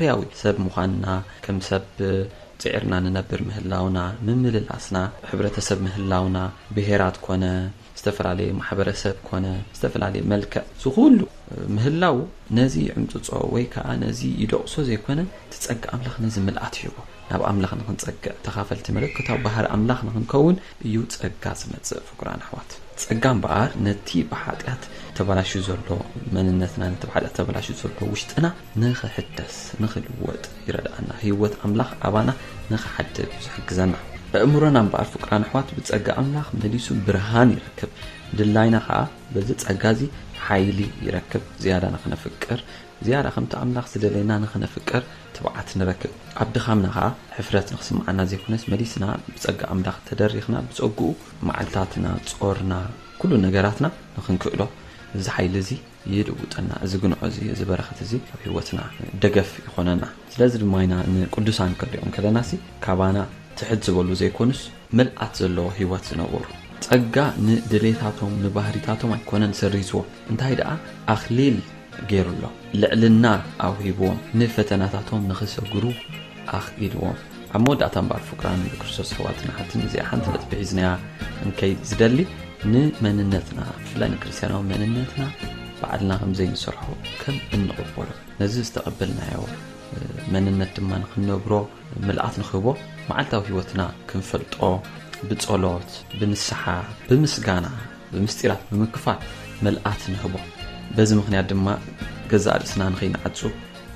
ባህርያዊ ሰብ ምዃንና፣ ከም ሰብ ጽዒርና ንነብር ምህላውና፣ ምምልላስና፣ ሕብረተሰብ ምህላውና፣ ብሄራት ኮነ ዝተፈላለየ ማሕበረሰብ ኮነ ዝተፈላለየ መልክዕ ዝኹሉ ምህላው ነዚ ይዕምጽጾ ወይ ከዓ ነዚ ይደቕሶ ዘይኮነ፣ እቲ ጸጋ ኣምላኽ ነዚ ምልኣት ይህቦ። ናብ ኣምላኽ ንኽንጸግዕ ተኻፈልቲ መለኮታዊ ባህሪ ኣምላኽ ንኽንከውን እዩ ጸጋ ዝመጽእ። ፍቁራን ኣሕዋት፣ ጸጋ እምበኣር ነቲ ብሓጢኣት ተበላሽዩ ዘሎ መንነትና፣ ነቲ ብሓጢኣት ተበላሽዩ ዘሎ ውሽጥና ንኽሕደስ፣ ንኽልወጥ ይረድኣና። ህይወት ኣምላኽ ኣባና ንኽሓድር እዩ ዝሕግዘና። ኣእምሮና እምበኣር ፍቁራን ኣሕዋት ብጸጋ ኣምላኽ መሊሱ ብርሃን ይረክብ። ድላይና ኸኣ በዚ ጸጋ እዚ ሓይሊ ይረክብ። ዝያዳ ንኽነፍቅር፣ ዝያዳ ከምቲ ኣምላኽ ዝደለየና ንኽነፍቅር ትብዓት ንረክብ። ኣብ ድኻምና ኸኣ ሕፍረት ንኽስምዓና ዘይኮነስ፣ መሊስና ብጸጋ ኣምላኽ ተደሪኽና፣ ብጸግኡ መዓልታትና፣ ጾርና፣ ኩሉ ነገራትና ንኽንክእሎ፣ እዚ ሓይሊ እዚ ይልውጠና። እዚ ግንዖ እዚ፣ እዚ በረኸት እዚ ኣብ ህይወትና ደገፍ ይኾነና። ስለዚ ድማ ኢና ንቅዱሳን ክንሪኦም ከለናሲ፣ ካባና ትሕት ዝበሉ ዘይኮኑስ፣ ምልኣት ዘለዎ ህይወት ዝነበሩ። ጸጋ ንድሌታቶም፣ ንባህሪታቶም ኣይኮነን ሰሪዝዎ። እንታይ ደኣ ኣኽሊል ገይሩሎም፣ ልዕልና ኣውሂብዎም፣ ንፈተናታቶም ንኽሰግሩ ኣኽኢልዎም። ኣብ መወዳእታ እምበኣር ፍቁራን ብክርስቶስ ኣሕዋትን ኣሓትን፣ እዚኣ ሓንቲ ነጥቢ ሒዝናያ እንከይ ዝደሊ፣ ንመንነትና፣ ብፍላይ ንክርስትያናዊ መንነትና ባዕልና ከም ዘይንሰርሖ ከም እንቕበሎ፣ ነዚ ዝተቐበልናዮ መንነት ድማ ንክንነብሮ ምልኣት ንክህቦ፣ መዓልታዊ ህይወትና ክንፈልጦ ብጸሎት፣ ብንስሓ፣ ብምስጋና፣ ብምስጢራት ብምክፋል ምልኣት ንህቦ። በዚ ምኽንያት ድማ ገዛእ ርእስና ንኸይንዓጹ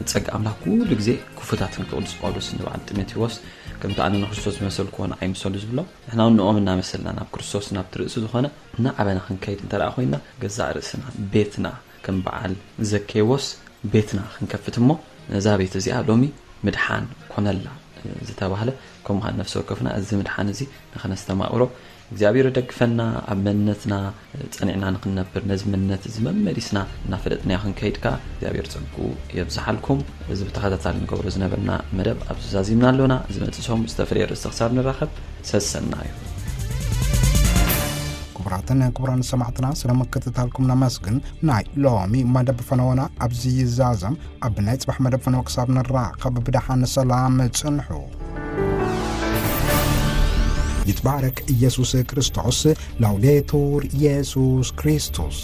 ንጸጋ ኣምላኽ ኩሉ ግዜ ክፉታት ክንከውን ቅዱስ ጳውሎስ ንበዓል ጢሞቴዎስ፣ ከምቲ ኣነ ንክርስቶስ ዝመሰልኩዎ ንዓይ ምሰሉ ዝብሎ፣ ንሕና እውን ንኦም እናመሰልና ናብ ክርስቶስ ናብቲ ርእሲ ዝኾነ እናዓበና ክንከይድ እንተ ደኣ ኮይንና፣ ገዛእ ርእስና፣ ቤትና፣ ከም በዓል ዘኬዎስ ቤትና ክንከፍት እሞ፣ ነዛ ቤት እዚኣ ሎሚ ምድሓን ኮነላ ዝተባህለ፣ ከምኡ ኸዓ ነፍሲ ወከፍና እዚ ምድሓን እዚ ንኸነስተማቕሮ እግዚኣብሔር ይደግፈና። ኣብ መንነትና ጸኒዕና ንኽንነብር፣ ነዚ መንነት እዚ መመሊስና እናፈለጥናዮ ክንከይድ ከኣ እግዚኣብሔር ጸግኡ የብዝሓልኩም። እዚ ብተኸታታሊ ንገብሮ ዝነበርና መደብ ኣብዚ ዛዚምና ኣሎና። ዝመጽእ ሰሙን ዝተፈለየ ርእስቲ ክሳብ ንራኸብ፣ ሰሰናዩ። ክቡራትን ክቡራን ሰማዕትና፣ ስለ ምክትታልኩም ነመስግን። ናይ ሎሚ መደብ ፈነወና ኣብዚ ይዛዘም። ኣብ ናይ ጽባሕ መደብ ፈነወ ክሳብ ንራኸብ ብደሓን ሰላም ጽንሑ። ይትባረክ ኢየሱስ ክርስቶስ። ላውዴቱር ኢየሱስ ክርስቶስ።